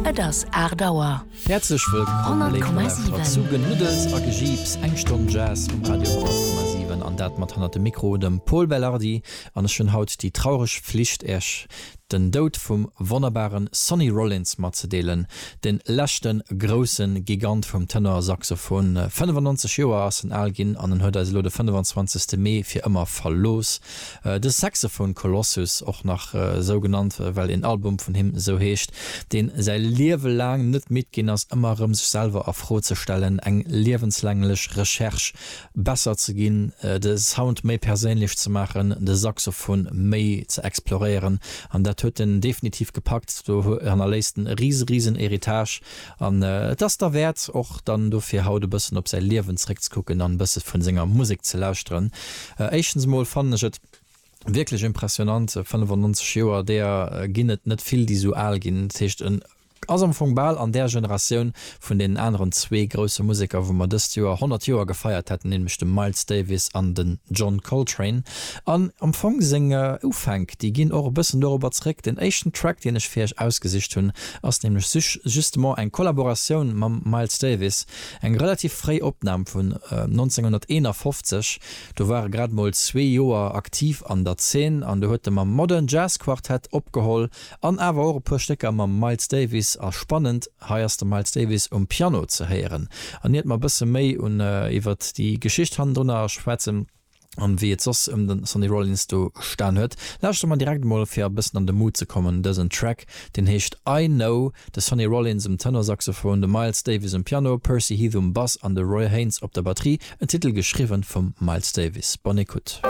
Et ass 8 Auer. Häerzlech wëllkomm, léif Nolauschterer, zu Genuddels a Gejiips, eng Stonn Jazz um Radio 10,7 an dat mat hannert dem Mikro dem Pol Belardi. An ech hunn haut déi traureg Flicht, Iech den Doud vum wonnerbare Sonny Rollins matzedeelen, de leschte grousse Gigant vum Tenorsaxophon. 95 Joer ass en al ginn an en huet eis elo de 25. Mee fir ëmmer verlooss. De Saxophone Colossus, och nach esou genannt, well een Album vun him esou heescht, deen säi Liewe laang net midd ginn ass, ëmmer erëm sech selwer a Fro ze stellen, eng liewenslänglech Recherche, besser ze ginn, de Sound méi perséinlech ze maachen, de Saxophon méi ze exploréieren. An dat huet en definitiv gepackt. Do hannerléisst en e rise, risen Héritage. An et ass derwäert, och dann dofir haut e bëssen op säi Liewen zeréckzekucken an e bësse vun senger Musek ze lauschteren. Éischtens emol fannen ech et wierklech impressionant, 95 Joer, deeër ginn et net vill, déi esou al ginn. Dat heescht, en ass am Fong bal an där Generatioun vun deenen aneren zwee grousse Museker, wou mer dëst Joer 100 Joer gefeiert hätten, nämlech de Miles Davis an den John Coltrane. An am Fong seng Ufänk, déi ginn och e bëssen dorobber zeréck. Den éischten Track, deen ech fir iech ausgesicht hunn, ass nämlech justement eng Kollaboratioun mam Miles Davis, eng relativ fréi Opnam vun 1951. Do war e grad mol zwee Joer aktiv an der Zeen an do huet e mam Modern Jazz Quartet opgeholl an awer och e puer Stécker mam Miles Davis. A spannend, hei ass de Miles Davis um Piano ze héieren. An iert mer e bësse méi un iwwert déi Geschicht hannendrunner schwätzen, An wéi et soss ëm den Sonny Rollins do gestan huet, lauschtere mer direkt mol fir e bëssen an de Mood ze kommen dësen Track, deen heescht I Know. De Sonny Rollins um Tenorsaxophon, de Miles Davis um Piano, Percy Heath um Bass an de Roy Haynes op der Batterie, en Titel geschriwwen vum Miles Davis. Bonne écoute.